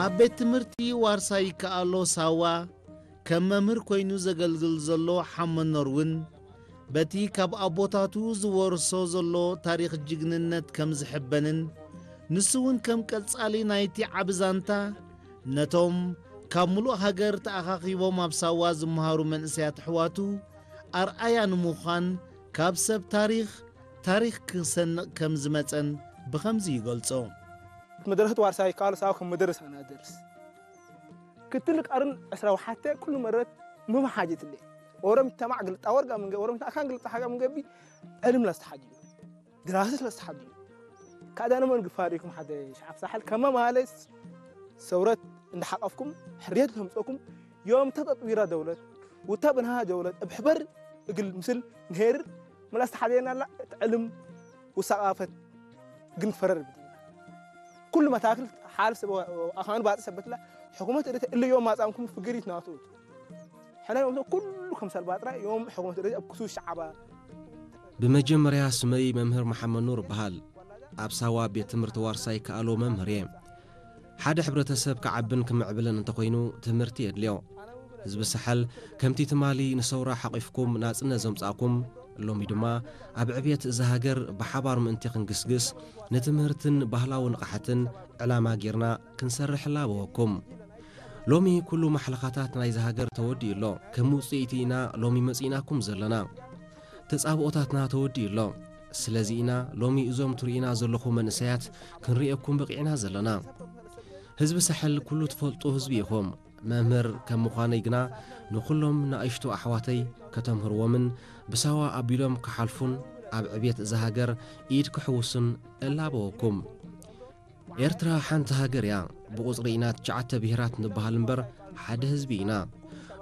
ኣብ ቤት ትምህርቲ ዋርሳይ ይከኣሎ ሳዋ ከም መምህር ኮይኑ ዘገልግል ዘሎ ሓመኖር እውን በቲ ካብ ኣቦታቱ ዝወርሶ ዘሎ ታሪኽ ጅግንነት ከም ዝሕበንን ንሱ እውን ከም ቀጻሊ ናይቲ ዓቢ ዛንታ ነቶም ካብ ምሉእ ሃገር ተኣኻኺቦም ኣብ ሳዋ ዝመሃሩ መንእሰያት ኣሕዋቱ ኣርኣያ ንምዃን ካብ ሰብ ታሪኽ ታሪኽ ክሰንቕ ከም ዝመጸን ብኸምዚ ይገልጾ። መድረሰት ዋርሳይ ይከኣሎ ሳዋ ከም መደረስ ኣና ደርስ ክትል ቀርን ዕስራ ወሓተ ኩሉ መረት ምም ሓጀት ለ ኦሮም ይተማዕ ግልጣ ወርጋ ምንገ ኦሮም ይተማዕ ካን ግልጣ ሓጋ ምንገቢ ዕልም ላስተሓጅ ድራሰት ላስተሓጅ ካዳነ መን ግፋሪኩም ሓደ ሸዓብ ሳሕል ከመ ማለት ሰውረት እንዳሓቀፍኩም ሕርየት ለምፀኩም ዮም ተጠጥዊራ ደውለት ውታ ብንሃ ደውለት እብ ሕበር እግል ምስል ንሄር ምላስ ተሓደየና ኣላ እቲ ዕልም ውሳቃፈት ግን ፈረር ብድና ኩሉ መታክል ሓል ሰብ ኣኻን ባጽ ሰበትላ ሕኩመት እደተ እለ ዮም ማጻምኩም ፍግሪት ናቱ ሕና ዮም ኩሉ ከም ሰልባጥራ ዮም ሕኩመት እደተ ኣብ ክሱ ሸዓባ ብመጀመርያ ስመይ መምህር መሓመድ ኑር እበሃል። ኣብ ሳዋ ቤት ትምህርቲ ዋርሳይ ከኣሎ መምህር እየ። ሓደ ሕብረተሰብ ክዓብን ክምዕብልን እንተኾይኑ ትምህርቲ የድልዮ። ህዝቢ ሳሕል ከምቲ ትማሊ ንሰውራ ሓቒፍኩም ናጽነት ዘምጻእኩም፣ ሎሚ ድማ ኣብ ዕብየት እዛ ሃገር ብሓባር ምእንቲ ክንግስግስ ንትምህርትን ባህላዊ ንቕሓትን ዕላማ ጌርና ክንሰርሕ እላበወኩም። ሎሚ ኩሉ ማሕለኻታት ናይዛ ሃገር ተወዲኡ ኣሎ። ከም ውጽኢቲ ኢና ሎሚ መጺእናኩም ዘለና። ተጻብኦታትና ተወዲኡ ኣሎ። ስለዚ ኢና ሎሚ እዞም ትርእዩና ዘለኹም መንእሰያት ክንርእየኩም በቒዕና ዘለና። ህዝቢ ሳሕል ኩሉ ትፈልጡ ህዝቢ ኢኹም። መምህር ከም ምዃነይ ግና ንኹሎም ንኣሽቱ ኣሕዋተይ ከተምህርዎምን ብሳዋ ኣቢሎም ክሓልፉን ኣብ ዕብየት እዛ ሃገር ኢድ ክሕውሱን እላበወኩም። ኤርትራ ሓንቲ ሃገር እያ። ብቑጽሪ ኢና ትሽዓተ ብሄራት ንበሃል እምበር ሓደ ህዝቢ ኢና።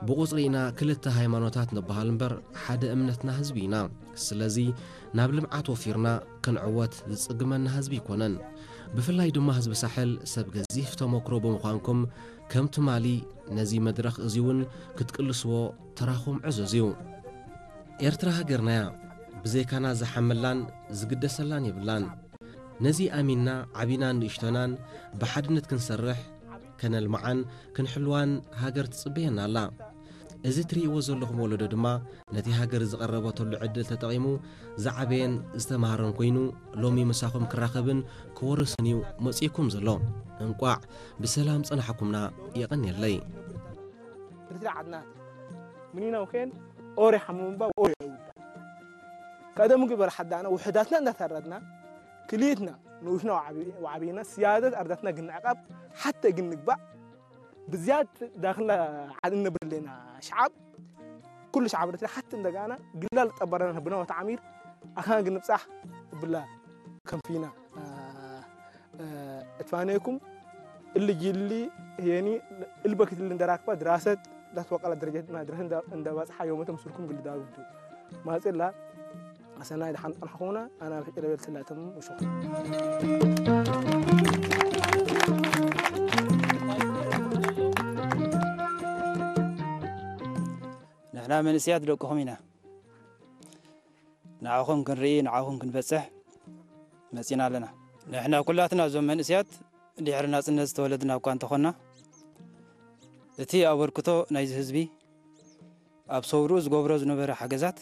ብቑጽሪ ኢና ክልተ ሃይማኖታት ንበሃል እምበር ሓደ እምነትና ህዝቢ ኢና። ስለዚ ናብ ልምዓት ወፊርና ክንዕወት ዝጽግመና ህዝቢ ኣይኮነን። ብፍላይ ድማ ህዝቢ ሳሕል ሰብ ገዚፍ ተመክሮ ብምዃንኩም ከም ትማሊ ነዚ መድረኽ እዚውን ክትቅልስዎ ተራኹም ዕዙዝ እዩ። ኤርትራ ሃገርናያ ብዘይካና ዝሓመላን ዝግደሰላን የብላን። ነዚ ኣሚንና ዓቢናን ንእሽቶናን ብሓድነት ክንሰርሕ ከነልምዓን ክንሕልዋን ሃገር ትጽበየና ኣላ። እዚ ትርእይዎ ዘለኹም ወለዶ ድማ ነቲ ሃገር ዝቐረበተሉ ዕድል ተጠቒሙ ዝዓበየን ዝተማህረን ኮይኑ ሎሚ ምሳኹም ክራኸብን ክወርስን እዩ መጺእኩም ዘሎ። እንቋዕ ብሰላም ጸናሕኩምና። የቐንየለይ። ርትራ ዓድና ምኒና ውኼን ኦሬ ሓሙምባ ኦሬ ውዳ ቀደሙ ግበር ሓዳና ውሕዳትና እንዳታረድና ክልኢትና ንኡሽና ወዓቢና ስያደት ኣርዳትና ግንዕቃብ ሓተ ግን ንግባእ ብዝያድ ዳክላ ዓድ እነብር ኣለና ሸዓብ ኩሉ ሸዓብ ርትራ ሓቲ እንደጋና ግላል ጠበረና ብና ወተዓሚር ኣካን ግን ንብጻሕ ብላ ከምፊና እትፋነየኩም እሊ ጅሊ ህየኒ እልበክት እሊ እንደራክባ ድራሰት ዳትወቀላ ደረጀት ድራሰት እንደባጽሓ ዮመተ ምስልኩም ግልዳውንቱ ማጽላ ኣሰናይ ድሓን ጸንሕኹምና ኣና ብሕቂ ለበል ስላተም ውሽኹ ንሕና መንእስያት ደቅኹም ኢና ንዓኹም ክንርኢ ንዓኹም ክንበጽሕ መጺና ኣለና። ንሕና ኩላትና እዞም መንእስያት ድሕሪ ናጽነት ዝተወለድና እኳ እንተኾንና፣ እቲ ኣበርክቶ ናይዚ ህዝቢ ኣብ ሰውርኡ ዝገብሮ ዝነበረ ሓገዛት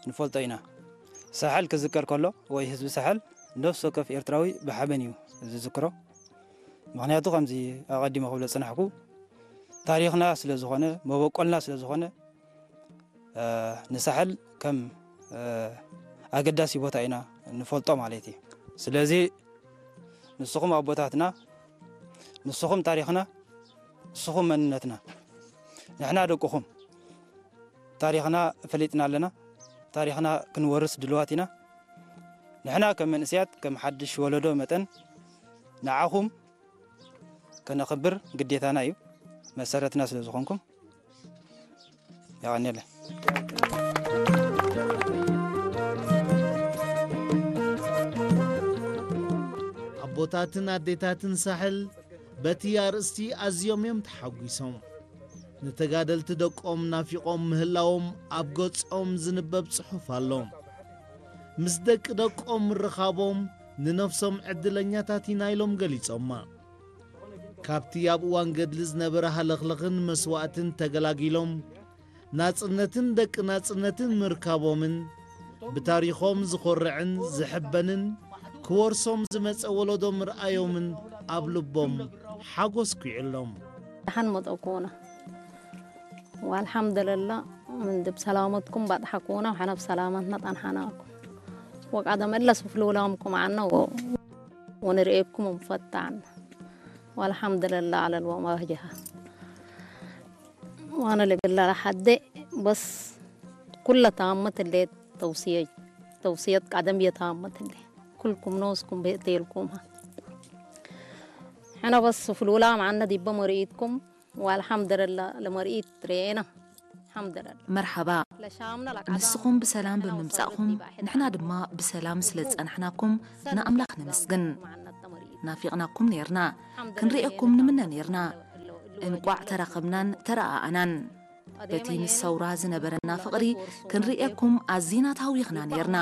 ንፈልጦ ኢና። ሳሕል ክዝከር ከሎ ወይ ህዝቢ ሳሕል ነፍሲ ወከፍ ኤርትራዊ ብሓበን እዩ ዝዝክሮ። ምኽንያቱ ከምዚ ኣቐዲመ ክብሎ ዝጸናሕኩ ታሪኽና ስለ ዝኾነ መበቆልና ስለ ዝኾነ ንሳሕል ከም ኣገዳሲ ቦታ ኢና ንፈልጦ ማለት እዩ። ስለዚ ንስኹም ኣቦታትና፣ ንስኹም ታሪኽና፣ ንስኹም መንነትና። ንሕና ደቅኹም ታሪኽና ፈሊጥና ኣለና። ታሪኽና ክንወርስ ድልዋት ኢና። ንሕና ከም መንእስያት ከም ሓድሽ ወለዶ መጠን ንዓኹም ከነኽብር ግዴታና እዩ። መሰረትና ስለ ዝኾንኩም የቐንየለ። ኣቦታትን ኣዴታትን ሳሕል በቲ ኣርእስቲ ኣዝዮም እዮም ተሓጒሶም። ንተጋደልቲ ደቆም ናፊቖም ምህላዎም ኣብ ገጾም ዝንበብ ጽሑፍ ኣሎ። ምስ ደቂ ደቆም ምርኻቦም ንነፍሶም ዕድለኛታት ኢና ኢሎም ገሊጾማ። ካብቲ ኣብ እዋን ገድሊ ዝነበረ ሃለኽለኽን መስዋእትን ተገላጊሎም፣ ናጽነትን ደቂ ናጽነትን ምርካቦምን፣ ብታሪኾም ዝኾርዕን ዝሕበንን፣ ክወርሶም ዝመጸ ወለዶ ምርኣዮምን ኣብ ልቦም ሓጎስ ኲዕሎም። ደሓን መጠኩና። ወልሓምዱልላ፣ ምንዲ ብሰላመትኩም ባጥሓኩና፣ ወሓና ብሰላመትና ጣንሓናኩም። ወቃደ መለስ ፍልውላምኩም ዓና ወ-፣ ወንርእየኩም እንፈታዕና። ወልሓምዱልላ ዓለል ወማህጀሃ። ዋነ ልብላ ለሓደ በስ ኩለ ታመት እንዴት ተውስየ-፣ ተውስየት ቀደም የታመት እንዴ። ኩልኩም ኖስኩም ቤቴልኩም። ሕና በስ ፍልውላ መዓነ ዲበ መርኢትኩም። ወአልሐምዱልላ ለመርኢት ርኤና። አልሐምዱልላ። መርሐባ። ለሻምና ለቀዳም ንስኹም ብሰላም ለውሰድ ብምምጻእኩም፣ ዲባሕት ንሕና ድማ ብሰላም ስለ ዝጸናሕናኩም ንኣምላኽ ነመስግን። መዓነት ተመርኢት። ናፊቕናኩም ኔርና። ክንርእየኩም ንምነ ኔርና። እንቋዕ ተራኸብናን ተረኣኣናን። በቲ ምስ ሰውራ ዝነበረና ፍቕሪ ክንርእየኩም ኣዚና ተሃዊኽና ኔርና።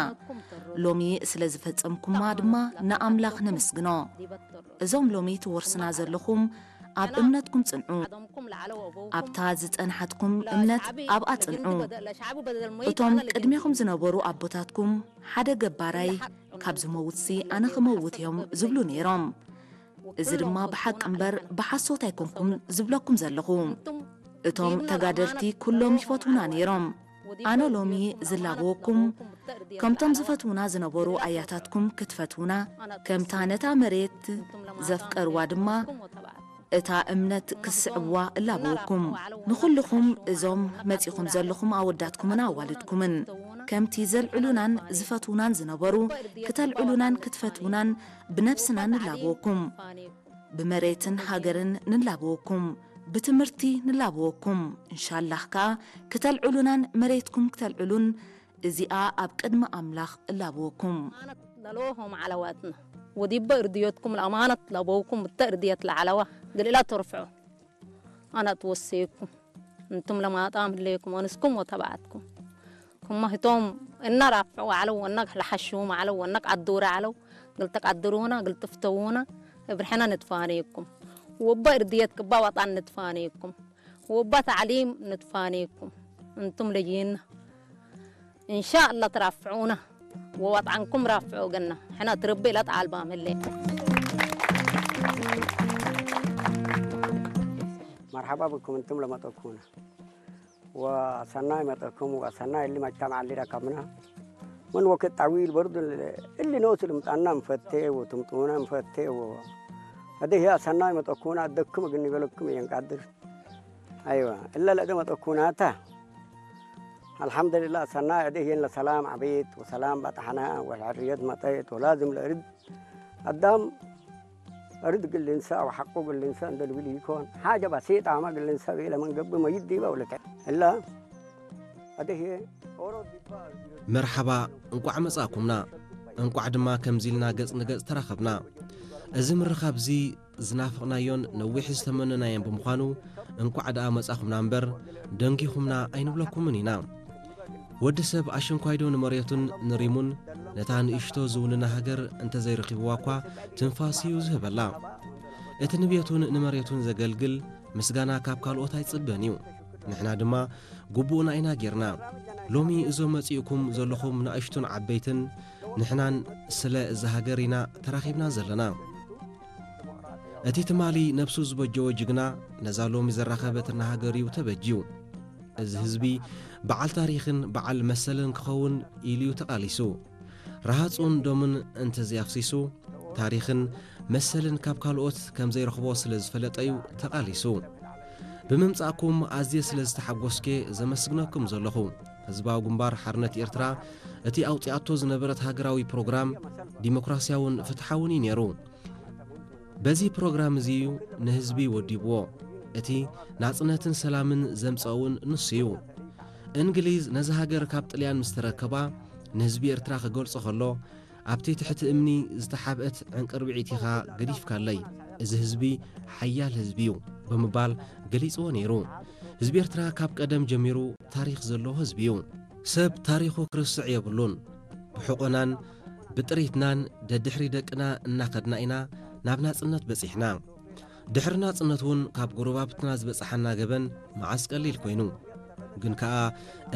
ሎሚ ስለ ዝፈጸምኩማ ድማ ንኣምላኽ ነመስግኖ። እዞም ሎሚ ትወርስና ዘለኹም ኣብ እምነትኩም ጽንዑ። ኣብታ ዝጸንሓትኩም እምነት ኣብኣ ጽንዑ። እቶም ቅድሜኹም ዝነበሩ ኣቦታትኩም ሓደ ገባራይ ካብ ዝመውትሲ ኣነ ክመውት እዮም ዝብሉ ነይሮም። እዚ ድማ ብሓቂ እምበር ብሓሶት ኣይኮንኩም ዝብለኩም ዘለኹ። እቶም ተጋደልቲ ኩሎም ይፈትዉና ነይሮም። ኣነ ሎሚ ዝላበወኩም ከምቶም ዝፈትዉና ዝነበሩ ኣያታትኩም ክትፈትዉና፣ ከምታ ነታ መሬት ዘፍቀርዋ ድማ እታ እምነት ክስዕብዋ እላበወኩም። ንኹልኹም እዞም መጺኹም ዘለኹም ኣወዳትኩምን ኣዋልድኩምን፣ ከምቲ ዘልዕሉናን ዝፈትዉናን ዝነበሩ፣ ክተልዕሉናን ክትፈትዉናን ብነብስና ንላበወኩም። ብመሬትን ሃገርን ንላበወኩም። ብትምህርቲ ንላበወኩም። እንሻላህ ከኣ ክተልዕሉናን መሬትኩም ክተልዕሉን እዚኣ ኣብ ቅድሚ ኣምላኽ እላበወኩም። ለሎሆም ዓለዋትና ወዲበ እርድዮትኩም ለኣማነት ለበውኩም እተ እርድየት ለዓለዋ ግልእላ ተርፍዑ። ኣነ ትወሰየኩም እንቱም ለማጣም ህሌኩም ኣንስኩም ወተባዕትኩም። ኩማ ህቶም እና ራፍዑ ዓለው፣ ወና ለሓሽውም ዓለው፣ ወና ቀድሩ ዓለው፣ ግልተ ቀድሩና፣ ግልተ ፍተውና፣ እብርሕና ንትፋነየኩም። ወባ እርድየት ቅባ ዋጣን ንትፋነየኩም። ወባ ተዕሊም ንትፋነየኩም። እንቱም ለይና። እንሻአላ ትራፍዑና። ወዋጣንኩም ራፍዑ ገና። ሕና ትርቢ ኢላ ተዓልባ መለ። መርሓባ ብኩም እንቱም ለመጠኩና። ወሰናይ መጠኩም ወሰናይ እሊ መጅተማዕ እሊ ረከብና። ምን ወቅት ጠዊል በርዱ እሊ ኖስ ልምጣና እንፈቴ ወትምጡና እንፈቴ ወ-፣ አደህ ያ ሰናይ መጠኩና አደክም ግን ይበለክም የንቃድር። አይዋ እለ ለእደ መጠኩናታ። አልሐምዱሊላህ ሰናይ አደህ የን ለሰላም አቤት ወሰላም በጣሕና ወልሕርየት መጠየት ወላዝም ለእርድ አዳም እርድ ግልንሳ ወሐቆ ግልንሳ እንደ ልብል ይኮን። ሓጀ በሲጣ አማ ግልንሳ ቤለ መን ገብእ መይት ዲበ ወለተ። እላ አደሄ ኦሮ ዲባ መርሓባ፣ እንቋዕ መጻእኩምና። እንቋዕ ድማ ከምዚ ኢልና ገጽ ንገጽ ተራኸብና። እዚ ምርኻብ እዚ ዝናፈቕናዮን ነዊሕ ዝተመነናዮን ብምዃኑ፣ እንቋዕ ደኣ መጻኹምና እምበር፣ ደንጊኹምና ኣይንብለኩምን ኢና። ወዲ ሰብ ኣሽንኳይዶ ንመሬቱን ንሪሙን፣ ነታ ንእሽቶ ዝውንና ሃገር እንተዘይረኺብዋ እኳ፣ ትንፋስ እዩ ዝህበላ። እቲ ንቤቱን ንመሬቱን ዘገልግል፣ ምስጋና ካብ ካልኦት ኣይጽበን እዩ። ንሕና ድማ ግቡእና ኢና ጌርና። ሎሚ እዞም መጺእኩም ዘለኹም ንኣሽቱን ዓበይትን፣ ንሕናን ስለ እዛ ሃገር ኢና ተራኺብና ዘለና። እቲ ትማሊ ነብሱ ዝበጀወ ጅግና፣ ነዛ ሎሚ ዘራኸበትና ሃገር እዩ ተበጅዩ። እዚ ህዝቢ በዓል ታሪኽን በዓል መሰልን ክኸውን ኢሉ እዩ ተቓሊሱ። ረሃጹን ደሙን እንተዘይኣፍሲሱ፣ ታሪኽን መሰልን ካብ ካልኦት ከም ዘይረኽቦ ስለ ዝፈለጠ እዩ ተቓሊሱ። ብምምጻእኩም ኣዝየ ስለ ዝተሓጎስኩ ዘመስግነኩም ዘለኹ። ህዝባዊ ግንባር ሓርነት ኤርትራ እቲ ኣውጺኣቶ ዝነበረት ሃገራዊ ፕሮግራም ዲሞክራስያውን ፍትሓውን እዩ ነይሩ። በዚ ፕሮግራም እዚ እዩ ንህዝቢ ወዲብዎ። እቲ ናጽነትን ሰላምን ዘምጸእውን ንሱ እዩ። እንግሊዝ ነዚ ሃገር ካብ ጥልያን ምስ ተረከባ፣ ንህዝቢ ኤርትራ ክገልጾ ከሎ፣ ኣብቲ ትሕቲ እምኒ ዝተሓብአት ዕንቅርብዒት ኢኻ ገዲፍካለይ። እዚ ህዝቢ ሓያል ህዝቢ እዩ ብምባል ገሊጽዎ ነይሩ። ህዝቢ ኤርትራ ካብ ቀደም ጀሚሩ ታሪኽ ዘለዎ ህዝቢ እዩ። ሰብ ታሪኹ ክርስዕ የብሉን። ብሕቆናን ብጥሪትናን ደድሕሪ ደቅና እናኸድና ኢና ናብ ናጽነት በጺሕና። ድሕሪ ናጽነት እውን ካብ ጎረባብትና ዝበጽሓና ገበን መዓስ ቀሊል ኮይኑ። ግን ከኣ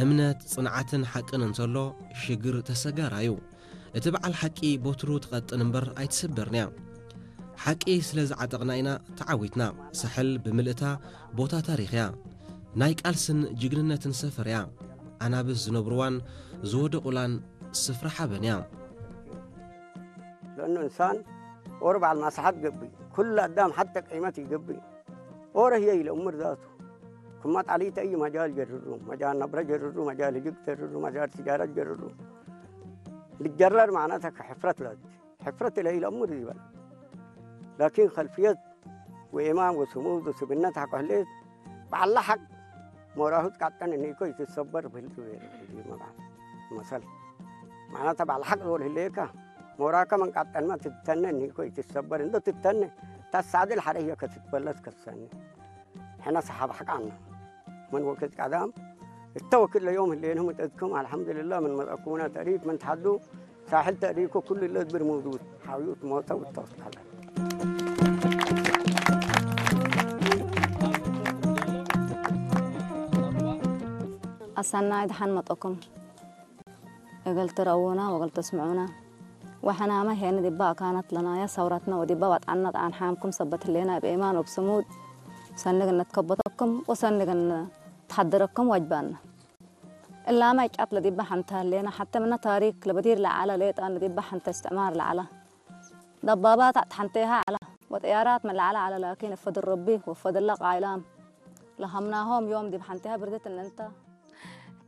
እምነት፣ ጽንዓትን ሓቅን እንተሎ ሽግር ተሰጋራዩ። እቲ በዓል ሓቂ ቦትሩ ትቐጥን እምበር ኣይትስበርንያ። ሓቂ ስለ ዝዓጠቕና ኢና ተዓዊትና። ሳሕል ብምልእታ ቦታ ታሪኽያ። ናይ ቃልስን ጅግንነትን ሰፈርያ። ኣናብስ ዝነብርዋን ዝወደቑላን ስፍራ ሓበንያ። لأنه إنسان ኦሮ በዓል ማስሓት ገብእ ኩሉ ኣዳም ሓተ ቀይመት ይገብእ ኦሮ ህየ ኢለ እምር ዛቱ ክማ ጣሊተ እዩ መጃል ጀርሩ መጃል ነብረ ጀርሩ መጃል ህጅግ ጀርሩ መጃል ትጃረት ጀርሩ ልጀረር ማዕናተ ከሕፍረት ለት ሕፍረት ኢለ ኢለ እምር ይበል ላኪን ከልፍየት ወኢማን ወስሙድ ወስብነት ሓቆ ህሌት በዓላ ሓቅ ሞራሁት ቃጠን እኒኮ ይትሰበር ብህልክ ቤር መባል መሰል ማዕናተ በዓል ሓቅ ዝወል ህሌካ ሞራከ መንቃጠንማ ትተነ እኒኮ ይትሰበር እንዶ ትተነ ታሳዕድል ሓደ ህዮ ከትትበለስ ከሰኒ ሕና ሰሓብ ሓቃና من وكت قدام التوكل ليوم اللي هم تدكم الحمد لله من مدكونا تريد من تحدو ሳሕል ተእሪኮ ኩሉ ኢለ ድብር መውዱድ ሓውዩት ሞተ ውተውት ካለ ኣሳናይ ደሓን መጠኩም እግል ትረውና ወግል ተስምዑና ወሐናማ ሄን ዲባ ኣካናት ለናያ ሰውራትና ወዲባ ዋጣና ጣን ሓምኩም ሰበት ህሌና ብኤማን ወብስሙድ ሰንግ ነትከበተኩም ወሰንግ ተሓደረኩም ዋጅባና እላማ ይጫት ለዲባ ሓንታ ሌና ሓተ ምና ታሪክ ለበዲር ለዓላ ሌጣን ለዲባ ሓንተ እስትዕማር ለዓላ ደባባት ኣት ሓንቴሃ ዓላ ወጠያራት መለዓላ ዓላ ላኪን እፈድል ረቢ ወፈድላ ቃይላም ለሃምናሆም ዮም ዲብ ሓንቴሃ ብርደት እንንተ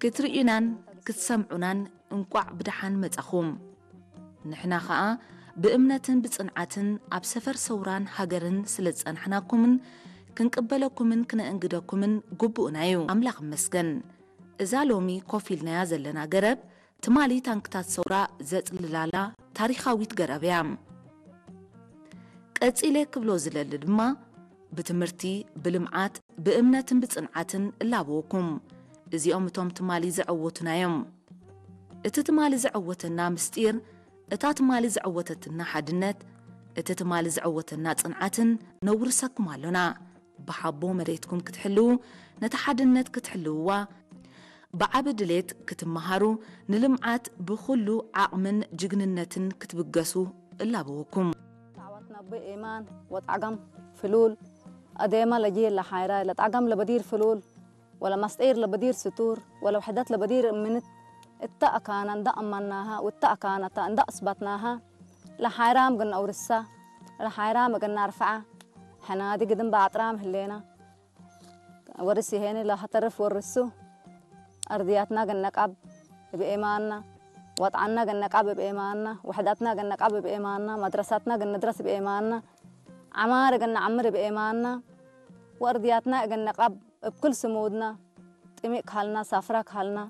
ክትርእዩናን ክትሰምዑናን እንቋዕ ብደሓን መጻኹም። ንሕና ኸኣ ብእምነትን ብጽንዓትን ኣብ ሰፈር ሰውራን ሃገርን ስለ ዝጸናሕናኩምን ክንቅበለኩምን ክነእንግደኩምን ግቡእና እዩ። ኣምላኽ ይመስገን። እዛ ሎሚ ኮፍ ኢልናያ ዘለና ገረብ ትማሊ ታንክታት ሰውራ ዘጽልላላ ታሪኻዊት ገረብ እያ። ቀጺለ ክብሎ ዝለሊ ድማ ብትምህርቲ፣ ብልምዓት፣ ብእምነትን ብጽንዓትን እላበወኩም። እዚኦም እቶም ትማሊ ዘዐወቱና እዮም። እቲ ትማሊ ዘዐወተና ምስጢር፣ እታ ትማሊ ዘዐወተትና ሓድነት፣ እቲ ትማሊ ዘዐወተና ጽንዓትን ነውርሰኩም ኣሎና። ብሓቦ መሬትኩም ክትሕልዉ፣ ነታ ሓድነት ክትሕልውዋ፣ ብዓቢ ድሌት ክትመሃሩ፣ ንልምዓት ብኹሉ ዓቕምን ጅግንነትን ክትብገሱ እላበወኩም። تعاونتنا بإيمان وطاقم فلول أديما لجيل لحيرة لطاقم لبدير فلول ولا مسطير لبدير ستور ولا وحدات لبدير منت التأكانا دا أمناها والتأكانا تا دا أثبتناها لحيرام قلنا أورسا لحيرام قلنا أرفعة حنا دي قدم بعطرام هلينا ورسي هيني لا هترف ورسو أرضياتنا قلنا قاب بإيماننا وطعنا قلنا قاب بإيماننا وحداتنا قلنا قاب بإيماننا مدرستنا قلنا درس بإيماننا عمار قلنا عمر بإيماننا وأرضياتنا قلنا قاب بكل سمودنا طميق كهلنا سافرة كهلنا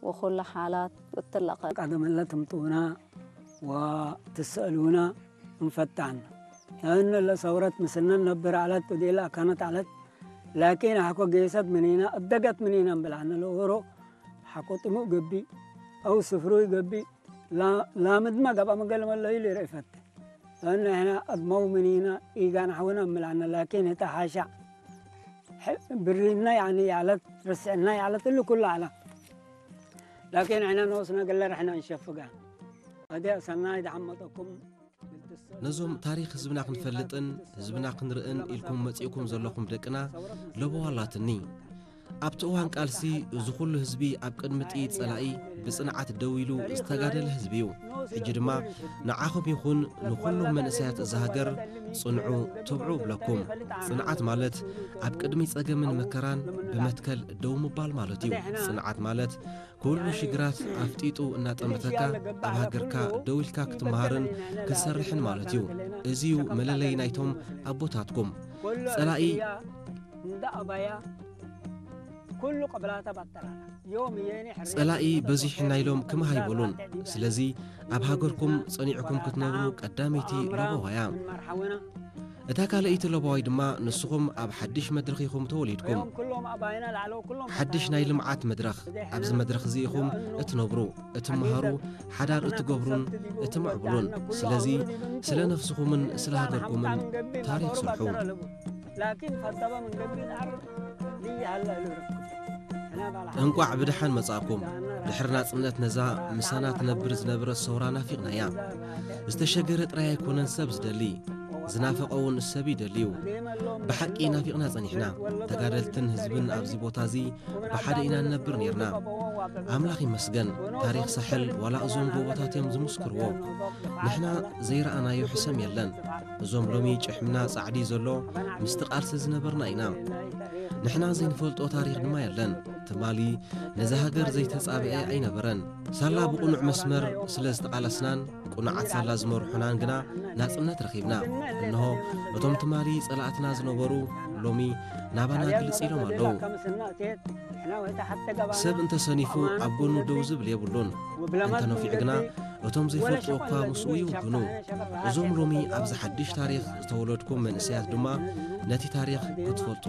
وكل حالات وتلقى ቀደም እለ ትምጡና ወትስአሉና እንፈታን። እነ ለሰውረት ምስልነ ነብር ዐለት ወዴለ አካነት ዐለት። ላኪን ሐቆ ጌሰት ምኒና እደገት ምኒና እምብል ዐነ ለኦሮ ሐቆ ጥሙእ ገቢ አው ስፍሩይ ገቢ ላምድመ ገብአ መገል መለዩ ሊርእ ፈቴ። እነ ሕነ አድመው ምኒና ኢጋን ሐውነ እምብል ዐነ ላኪን ህተ ሐሻዕ ብሪና ያኒ ያለት ርስዕና ያለት እሉ ኩሉ ዐላ። ላኪን ሕነ ኖስና ገለር ሕነ እንሸፍጋ። አዲ ሰናይ ደሐመጠኩም ነዞም ታሪኽ ህዝብና ክንፈልጥን ህዝብና ክንርእን ኢልኩም መጺእኩም ዘለኹም ደቅና ለበዋ ኣላትኒ። ኣብቲ እዋን ቃልሲ እዚ ኩሉ ህዝቢ ኣብ ቅድሚ ጥይት ጸላኢ ብጽንዓት ደው ኢሉ ዝተጋደለ ህዝቢ እዩ። ሕጂ ድማ ንዓኹም ይኹን ንኹሎም መንእሰያት እዛ ሃገር ጽንዑ ትብዑ እብለኩም። ጽንዓት ማለት ኣብ ቅድሚ ጸገምን መከራን ብመትከል ደው ምባል ማለት እዩ። ጽንዓት ማለት ኩሉ ሽግራት ኣፍጢጡ እናጠመተካ ኣብ ሃገርካ ደው ኢልካ ክትመሃርን ክትሰርሕን ማለት እዩ። እዚ እዩ መለለይ ናይቶም ኣቦታትኩም። ጸላኢ እንዳ ኣባያ ጸላኢ በዚሕና ኢሎም ክምሃ ኣይበሉን። ስለዚ ኣብ ሃገርኩም ጸኒዕኩም ክትነብሩ ቀዳመይቲ ለበዋ እያ። እታ ካልኣይቲ ለበዋይ ድማ ንስኹም ኣብ ሓድሽ መድረኽ ኢኹም ተወሊድኩም። ሓድሽ ናይ ልምዓት መድረኽ። ኣብዚ መድረኽ እዚ ኢኹም እትነብሩ፣ እትመሃሩ፣ ሓዳር እትገብሩን እትምዕብሉን። ስለዚ ስለ ነፍስኹምን ስለ ሃገርኩምን ታሪኽ ስርሑ። እንቋዕ ብደሓን መጻእኩም። ድሕሪ ናጽነት ነዛ ምሳና ትነብር ዝነበረት ሰውራ ናፊቕናያ። ዝተሸገረ ጥራይ ኣይኮነን ሰብ ዝደሊ፣ ዝናፈቐ እውን ሰብ ይደልዩ። ብሓቂ ናፊቕና ጸኒሕና። ተጋደልትን ህዝብን ኣብዚ ቦታ እዚ ብሓደ ኢና ንነብር ኔርና። ኣምላኽ ይመስገን፣ ታሪኽ ሳሕል ዋላ እዞም ጎቦታት እዮም ዝምስክርዎ። ንሕና ዘይረኣናዮ ሕሰም የለን። እዞም ሎሚ ጭሕምና ጻዕዲ ዘሎ ምስቲ ቃልሲ ዝነበርና ኢና። ንሕና ዘይንፈልጦ ታሪኽ ድማ የለን። ትማሊ ነዛ ሃገር ዘይተጻብአ ኣይነበረን። ሳላ ብቕኑዕ መስመር ስለ ዝተቓለስናን ቅኑዓት ሳላ ዝመርሑናን ግና ናጽነት ረኺብና። እንሆ እቶም ትማሊ ጸላእትና ዝነበሩ ሎሚ ናባና ግልጽ ኢሎም ኣለዉ። ሰብ እንተሰኒፉ ኣብ ጎኑ ደው ዝብል የብሉን። እንተነፊዑ ግና እቶም ዘይፈልጥዎ እኳ ምስኡ ይውግኑ። እዞም ሎሚ ኣብዚ ሓድሽ ታሪኽ ዝተወለድኩም መንእሰያት ድማ ነቲ ታሪኽ ክትፈልጡ